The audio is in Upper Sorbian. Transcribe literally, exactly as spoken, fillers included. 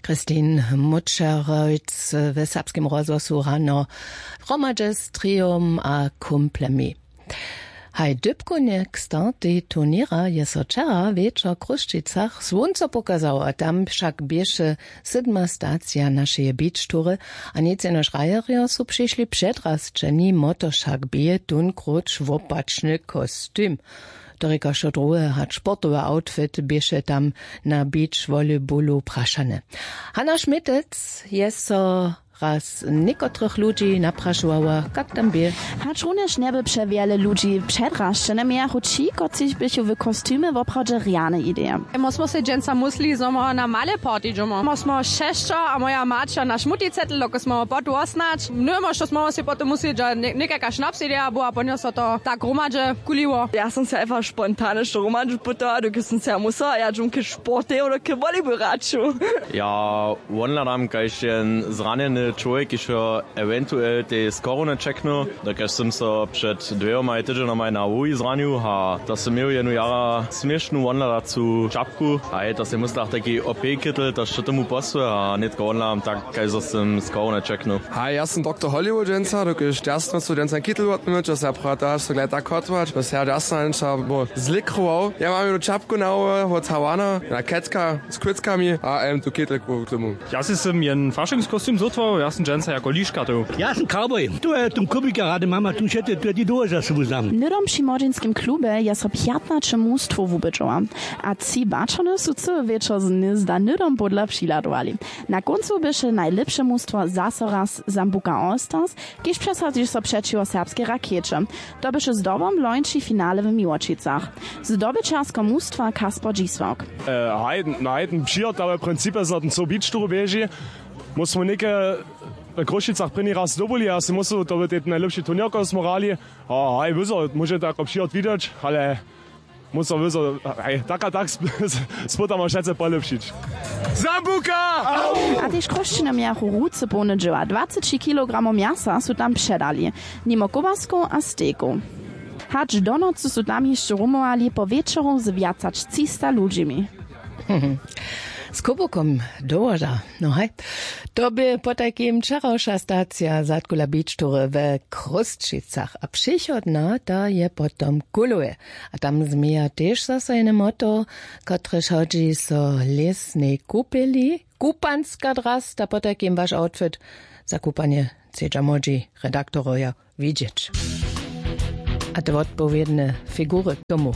Christine Mutscheroyc we Serbskem rozhłosu rano hromadźe z triom a kumplemi. Haj dypkownje k startej turněra je so wčera wječor w Chrósćicach słónco pokazało a tam wšak běše sydma stacija našeje beach tury. A nic jenož rajerjo su přišli předrasćeni moto wšak bě tón króć wopačny kostim. To rěka wšo druhe hač sportowy outfit běše tam na beach volleyballu prašany. Hana šmitec je so raz někotrych ludźi naprašowała kak tam bě. Hačrunjež njeby přewjele ludźi předrašćene mějachu ći kotřiž běchu w kostumy woprawdźe rjane ideje. Mó smo sej dźensa musli zo mo na male party dźomo mó smo šesćo a moja maća naš muticetel doko smo ho potu osnać nujemo što smo sej potom musli dźa někajka šnaps ideja była ponjo so to tak hromadźe kuliło. Ja som se einfach spontane što hromadźe putała doke som se ja musała ja dźomke sportejo doke volejbol hraću. Ja wonhladam kaž jen zranjeny čłowjek kiž jo ewentuel tej z korony čeknył, dokelž sym so před dwěmaj tydźenjomaj na hłowi zranił a to sym měł jenu jara směšnu wonhladacu čapku a je to sej muslach taki opejkittel to što tomu posły a nětko wonhladam tak kaž zo sym z korony čeknył. Haj ja sym doktor hollywood dźensa dokelž dźasno su dźensa kittel wotmyć a se ja prata so glej tak hotować a se ja dźasno dźensa bo zlikrował ja mam jenu čapku na hłowy wot hawana na ketka z kwitkami a em tu kittel k tomu. Ja sej sym jen fašingskostim zhótwał ja sym dźensa jako liška tył. Ja sym cowboy tu je tón kubika rady mama tu wšety tu je ti dołho za sobu znam. Hnydom při młodźinskim klubje je so pjatnaće mustwow wubědźowa a tři baćony su cyły wječor z hnyzda hnydom podla přiladowali. Na kóncu běše najlěpše mustwo zaso raz zambuka all stars kiž přesadźi so přećiwo serbskej rakjeće. To běše zdobom lońši finale w miłočicach. Zdobyćersko mustwa kasper dźisławk. Haj na hajtym přihotawe principje so ten so bić tu běži. Móž smo něke w chrósćicach prěni raz zdobyli a sej móžu to by tej najlěpši turněr koho smo hrali. A haj wyzo móže to jako přihot widźeć ale móžu wyzo haj tak a tak spótamo wšetce polěpšić. Zambuka. A tež chrósćiny mějachu ruce połne dźěła dwaceći kilogramow mjasa su tam předali nimo kobaskow a stejkow. Hač do nocy su tam hišće rumowali po wječoru z wjac hač třista ludźimi. Z kubukom dołoža. No haj. To bě potajkim wčerawša stacija zadkula beach tury we chrósćicach a přichodna ta je potom w kuloje. A tam změja tež zaso jene moto kotrež hodźi so lěsnej kupeli kupanska drasta potajkim waš outfit. Za kupanje chcedźa młodźi redaktorojo widźeć. A te wotpowědne figury k tomu.